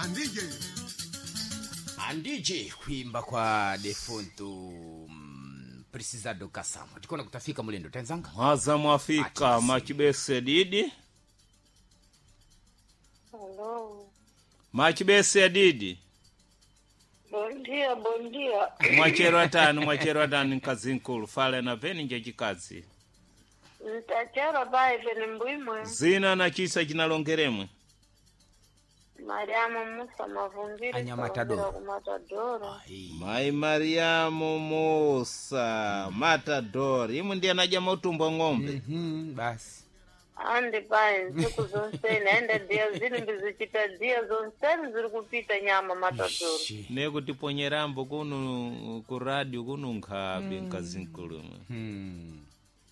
Andije. Andije kuimba kwa defunto Precisado Kasamo. Tikona kutafika mulendo tenzanga. Mwaza mwafika Ati. Machibese didi. Hello. Machibese didi. Bom dia, bom dia. Mwachero atani, mwachero atani mkazi nkulu fale na veni nje chikazi. Ntachero pai pene mbwimwe. Zina na chisa chinalongeremwe. Mariamu Musa Mavumbiri. Anya Matadoro. Ku Matadoro. Ai. Mai Mariamu Musa Matador imwe ndiye anaja mautumbo ng'ombe. Basi. Andi pai ntsiku zonseni aenda dia zili mbizichita dia zonseni ziri kupita nyama Matadoro. Shi. Nekutiponyerambo kuno ku radio kuno nkhabe mkazi nkulu imwe.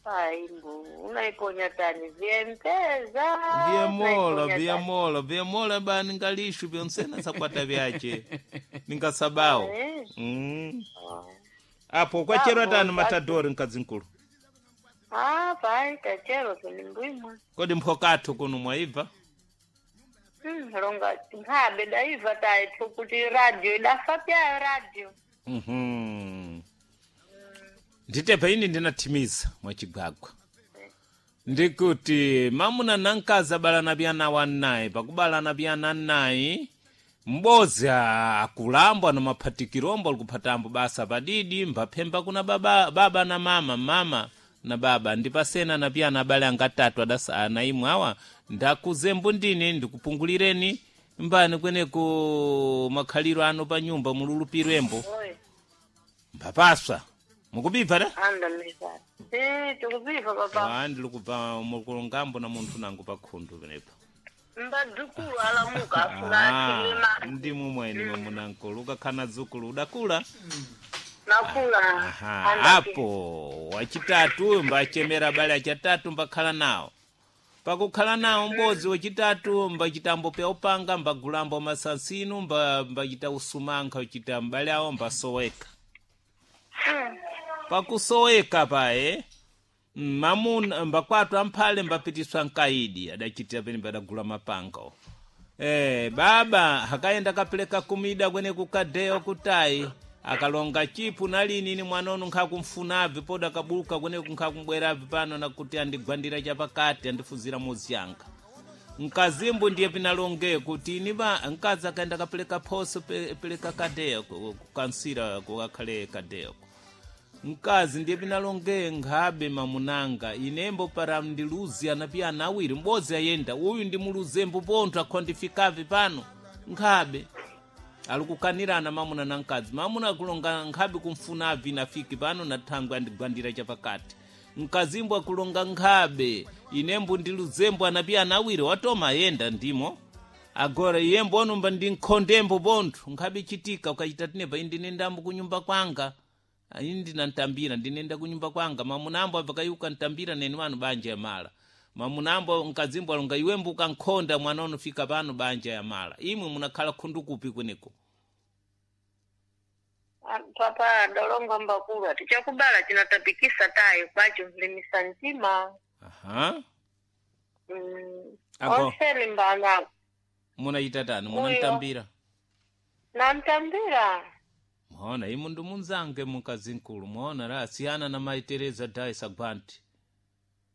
Pai mbu unaiponya tani vyempeza. Vyemola unaiponya tani. vyemola vyemola ba ningalishu vyonsena sakwata vyache ningasabao. Eh. Apo kwachero Bravo, atani basi. Matadori mkazi nkulu. Ah, pai tachero pene mbwimwe. Kodi mphokathu kuno mwaibva? Longa nkhabe daiva taithu kuti radio idafa pyayo radio. Nditepa ini ndinathimiza mwachigwagwa ndikuti mamuna na mkazi abalana pyana wanayi pakubalana pyana nayi m'bodzi akulambwa na maphatikirombo alikuphatambo basa padidi mbaphemba kuna baba, baba na mama mama na baba ndipasena na pyana abale anga atatu adasa ana imwe awa ndakuzembo ndine ndikupungulireni mbani kweneko makhaliro ano pa nyumba mululupirembo. Oi. Mphapaswa mukubibva da? Anda mizani. Eh, tikupiva papa. Ah, ndili kubva mukulongambo na munthu nangu pakhundu penepa. Mbadzukulu alamuka afuna athilima. Ndimwe mwene mamunankulu ukakhana dzukulu udakula. Nakula. Aha, Anda apo wachitatu uyu mbachemera abale achatatu mbakhala nawo pakukhala nawo m'bodzi wachitatu mbachitambo pya upanga mbagulambo masansinu mbachita usumankha uchita m'bale awo mbasoweka. Pakusoweka paye mamuna mbakwatu amphale mbapitiswa mkaidi adachitira pene padagula mapanga. Baba akayenda kapeleka kumida kwene kukadeyo kutayi akalonga chipu nalini ni mwana uno nkhakumfunabve poda akabuluka kweneku nkhakumbwerabve pano nakuti andigwandira chapakati andifuzira mozi yanga. Mkazimbu ndiye pinalonge kuti ini ba mkazi akaenda kapeleka phoso peleka kadeyo kukansira kukakhale kadeyo. Mkazi ndiye pinalonge nkhabe mamunanga inembo para ndiluzi anapiya ana awiri m'bodzi ayenda uyu ndi muluzembo pontho akhondifikave pano nkhabe alikukanirana mamuna na mkazi. Mamuna akulonga nkhabe kumfunavi inafiki pano na thangwe andigwandira chapakati. Mkazimbo akulonga nkhabe inembo ndi luzembo anapiya ana awiri watoma ayenda ndimo agora iyembo onumba ndi nkhondembo pontho nkhabe chitika ukachita tinepa indinendambo kunyumba kwanga ini ndinantambira ndinenda kunyumba kwanga mamunambo abva kayuka ntambira neni wanu banja ya mala. Mamunambo mkazimbo alonga iwembo ukankhonda mwana unofika pano banja ya mala imwe munakhala khundu kupi kweneko. Papa dolonga mbakulu tichakubala chinatapikisa tayo kwacho mlimisa mtima. Aha. Ago. Onseni mbana. Munachita tani? Uyo. Munantambira? Nantambira. Mwaona imu ndi munzange mukazi nkulu mwaona la asiyana na Mai Teresa Daisa Gwanti.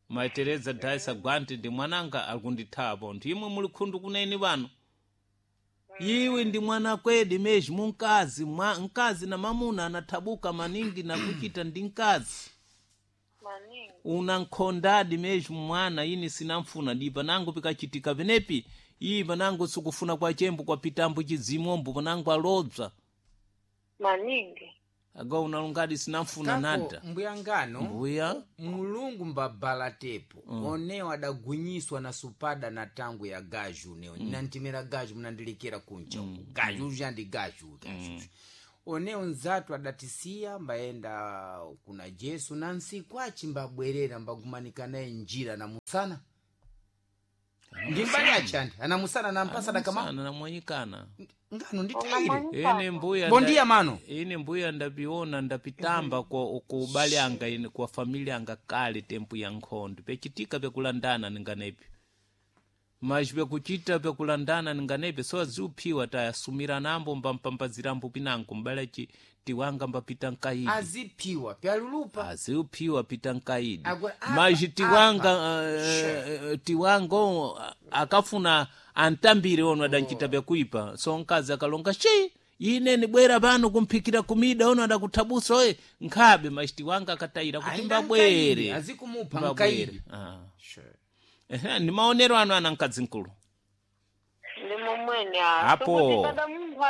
Mai Teresa Daisa Gwanti ndi mwananga akundithawa pontho imwe muli khundu kuneni pano. Iwe ndi mwana kwedi mezhi munkazi mkazi na mamuna anathabuka maningi na kuchita ndi mkazi. Maningi. Unankhondadi mezhi mwana ini sinamfuna di panango pikachitika penepi iyi panango sikufuna kwa chembo kwa pitambo chidzimombo panango alobza. Maningi. Aga unalungadi sinamfuna Kako nada. mbuyangano Mbuya. Mulungu mbabala tepo onewo adagwinyiswa na supada na tangu ya gaju neo nantimira gaju munandilikira kunja uku gaju uja ndi gaju gaju. Onewo nzatu adatisiya mbayenda kuna Jesu na nsiku achi mbabwerera mbagumanika naye njira na musana ndi mbali achandi anamusana nampasa dakama Sana namwanyikana. ngano nditaire Ine mbuya bondia mano ine mbuya ndapiona ndapitamba kwa ku ubale anga ine kwa familia anga kale tempu ya nkhondo pechitika pekulandana ninganepi. Mas vyakuchita vyakulandana ninganepe so aziuphiwa tayasumiranambo mbampambazirambo pinango mbale tiwanga mbapita nkaidi. Aziphiwa pyalulupa. Aziuphiwa pita nkaidi. Agora, apa, Mas tiwanga apa. tiwanga akafuna antambire ono adanchita vyakuipa, so nkazi akalonga shi ine nibwera pano kumphikira kumida ono adakuthabusa oye nkhabe, mas tiwanga akatayira kuti Ainda nkaidi, mbabwere azikumupha mbabwere. nkaidi. Ah. Sure. Ehe, ni maonero ano ana mkazi mkulu. Ndimo mwene. Apo. Sokuti kada munthu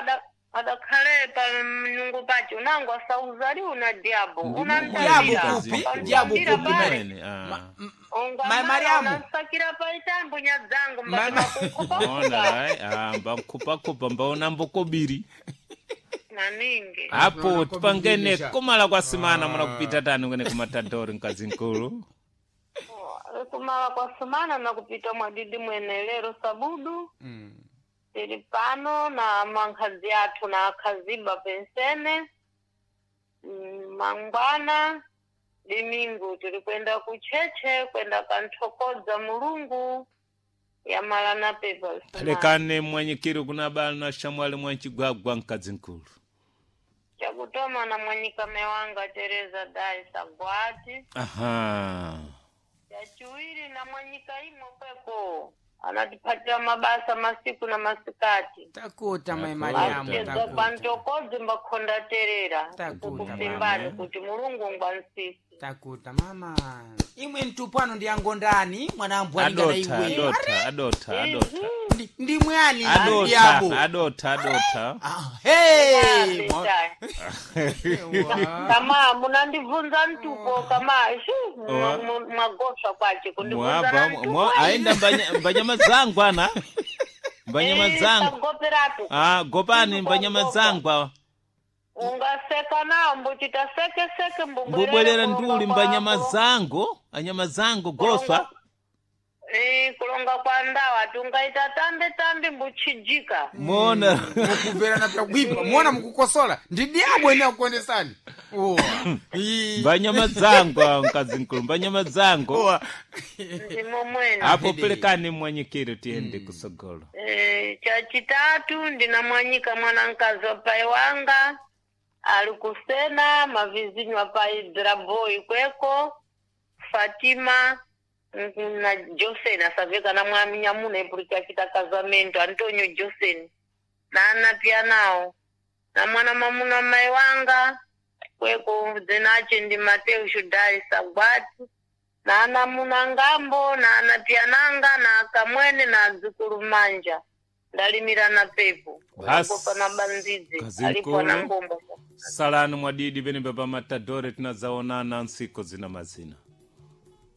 adakhale pa mnungu pace unango asauzali una diabo. Diabo Unantambira. kupi, diabo Ukantambira kupi, pale. Mwene, ah. Ungamala Mariamu. unansakira paitambo nyadzangu Ma- Ona, ai, ah, mbankhupakupa mbaona mbokobiri. Maningi. Apo Tunaona tipangene kobiri. kumala kwa simana muna kupita tani kwene kumatadori mkazi mkulu. Kumala kwa sumana na kupita mwadidi mwene lero sabudu. Tili pano na mankhazi athu na akhaziba pensene. Mangwana dimingu tili kwenda kucheche kwenda kanthokodza Mulungu yamala na pepa sumana. Pelekane mwanyikiri kuna bala na shamwali mwanchigwagwa mkazi mkulu. Chakutoma na mwanyikame wanga Tereza Dai Sagwati. Aha. Chachiwiri na mwanyika imo kweko anatiphatira mabasa masiku na masikati. Takuta mai Takuta. Mariamu, Achedza takuta. kwantokodzi mbakhonda terera Takuta, kukufimbani mama. kuti Mulungu ngwansisi. Takuta mama. Imwe mtupano ndi angondani mwana ambwalingana Adotha, iwe. adotha, adotha, adotha. Ndi mwani Adotha, diabo. adotha, adotha. Ah, hey! Kama munandibvunza mtupo kama shu Wa. mwagoswa kwace kundibvunza Mwaba, na mtupo. aenda mbanyama zangu ana. Mbanyama zangu. Sagoperatu. Ah, gopani mbanyama zangu awa. Ungaseka nawo mbuchita seke seke Mbubwerera nduli mbanyama kwako. zangu, anyama zangu goswa. Kulonga kwa ndawa ati ungaita tambe tambe mbuchijika. Mona. Mukumverana pyakuipa muona mukukosola ndi diabo ene akuonesani. Uwa. Ii. Mbanyama zangu awa mkazi mkulu, mbanyama zangu. Uwa. Ndimo mwene. Apo pelekani mwanyikiri tiende kusogolo. Chachitatu ndinamwanyika mwanankazi wa pai wanga ali kusena mavizinyu apai draboi kweko Fatima na Josen asaveka na mwami nyamuna ipuri chachita kazamento Antonio Josen na ana pia nawo na mwana mamuna mai wanga kweko dzinache ndi Mateo Shudai Sagwati na ana muna ngambo na ana pia nanga na akamwene na adzukulu manja ndalimira na pepo Basi, unagopa na banzidzi kazi alipo na nkulu. ngombo. Salani mwadidi pene pa matadore tinazaonana nsiku zina mazina.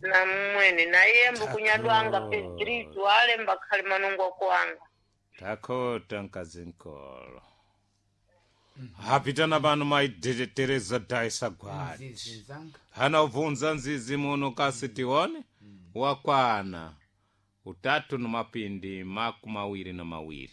Na mmwene na iye mbukunyadwanga Pedrito ale mbakhali manungo kuanga. Takota mkazi mkolo. Hapitana pano mai Tereza Dai Sagwati. Nzizi nzanga. Hana ubvunza nzizi muno kasi tione wakwana utatu nomapindi 22.